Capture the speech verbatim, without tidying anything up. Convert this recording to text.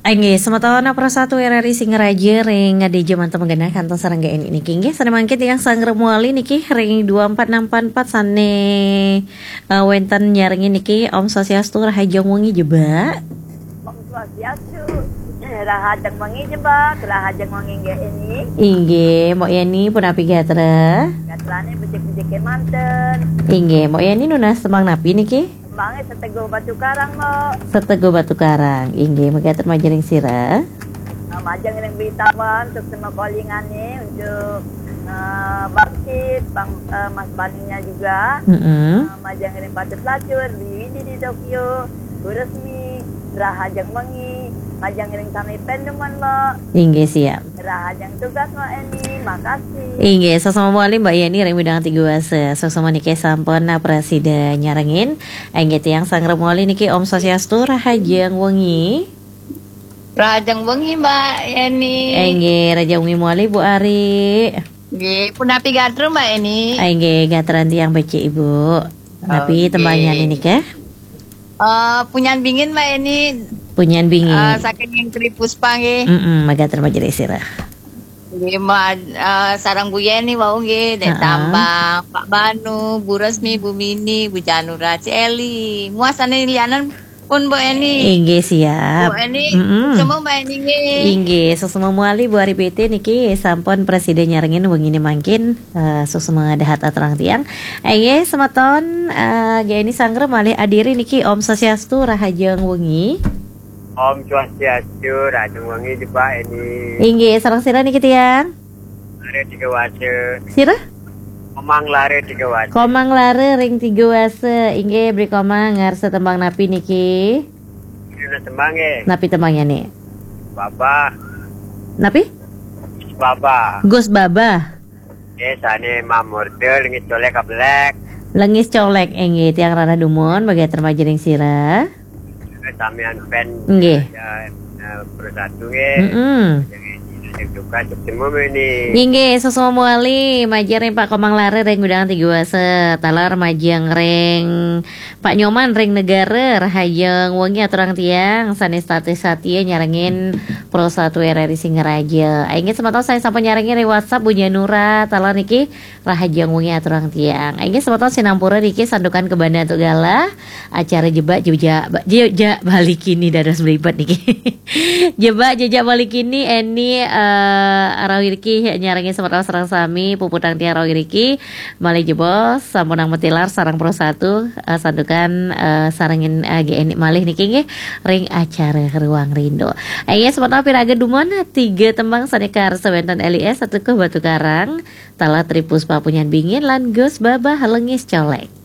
Inggih, semeton Pro satu R R I Singaraja ring D J manten genah kantos sareng G N I niki. Inggih, sané mangkin tiang sanggra mawali niki ring dua empat enam empat empat sané, eh, wénten nyarengin niki. Om Swastiastu, rahajeng wengi, Jebak. Om Swastiastu, rahajeng wengi, Jebak, rahajeng wengi, G N I. Inggih, Mbok Yeni, punapi gatra? Gatrané becik-becik kémanten. Inggih, Mbok Yeni nunas tembang napi niki? Tembangé Seteguh Batu Karang, Mbok. Seteguh Batu Karang. Inggih, mekaten majeng ring sira. Eh, majeng ring Betawan, suksma kalingané untuk, eh, Bangkit, Bang, eh, Mas Baninya juga. Mm-mm. Eh, majeng ring Patut Lacur, Dwi Widi di Tokyo, Bu Resmi, rahajeng wengi, majeng ring sami panemuan, Mbok. Inggih, siap. Rahajeng tugas, Mbok Eni, makasih. Inggih, sasama mawali Mbok Yeni ring Bidang Tiga Wasa. Sasama niki sampun prasida nyarengin. Inggih, tiang sanggra mawali niki, Om Swastiastu, rahajeng wengi. Rahajeng wengi, Mbok Yeni. Inggih, rahajeng wengi mawali, Bu Ari. Nggih, punapi gatra, Mbok Yeni? Inggih, gatran tiang becik, Ibu. Napi tembangnya niki? Eh, Punyan Bingin, Mbok Yeni. Punyan Bingin. Eh, saking Tri Puspa nggih. Mm-mm, mekaten majeng ring sira. Nggih, ma-, eh, sareng Bu Yeni wau nggih, Dek Tambang, Pak Banu, Bu Resmi, Bu Mini, Bu Janura, Ci Eli. Muasane lianan pun, Mbok Eni. Inggih, siap. Mbok Eni, mm-mm, semua Mbok Eni nggih. Inggih, sasama mawali Bu Ari B T niki sampun prasida nyarengin wengine mangkin, eh, sasama dahat aturang tiang. Inggih, semeton, eh, G N I sanggra malih adiri niki. Om Swastiastu, rahajeng wengi. Om Swastiastu, rahajeng wengi, Jebak Eni. Inggih, sareng sira niki tiang? Lara Tiga Wasa. Sira? Komang Lara Tiga Wasa. Komang Lara ring Tiga Wasa. Inggih, Bli Komang, ngarsa tembang napi niki? Nunas tembang nggih. Napi tembangnya nih? Baba. Napi? Baba. Gus Baba. Nggih, sane mamurda Lengis Colek Kablek. Lengis Colek, inggih, tiang rarah dumun, mekaten majeng ring sira. Samian fan. Nggih. Ya, eh, Pro satu nggih. Mm-mm. Jadi, jadi juga sukses ini. Inggih, sasama mawali, majeng ring Pak Komang Lara ring Bidang Tiga Wasa, taler majeng ring Pak Nyoman ring Negara, rahajeng wengi aturang tiang, sane satia nyarengin Pro satu R R I Singaraja. Inggih, semeton sane sampun nyarengin ring WhatsApp, Bu Janura, taler niki, rahajeng wengi aturang tiang. Inggih, semeton sinampura niki santukan kabanda antuk galah acara Jebak Jejak, Jejak Bali Kini dados mlibet niki. Jebak Jejak Bali Kini, Eni, eh, rauh iriki nyarengin semeton sareng sami, puputang tiang rauh iriki, malih jebos, sampunang matilar sareng Pro satu, eh, santukan, eh, sarengin, eh, G N I malih niki nggih, ring acara Ruang Rindu. Inggih, semeton piraga dumun, tiga tembang sane karsa wenten L I S, Seteguh Batu Karang, taler Tri Puspa Punyan Bingin, lan Gus Baba Lengis Colek.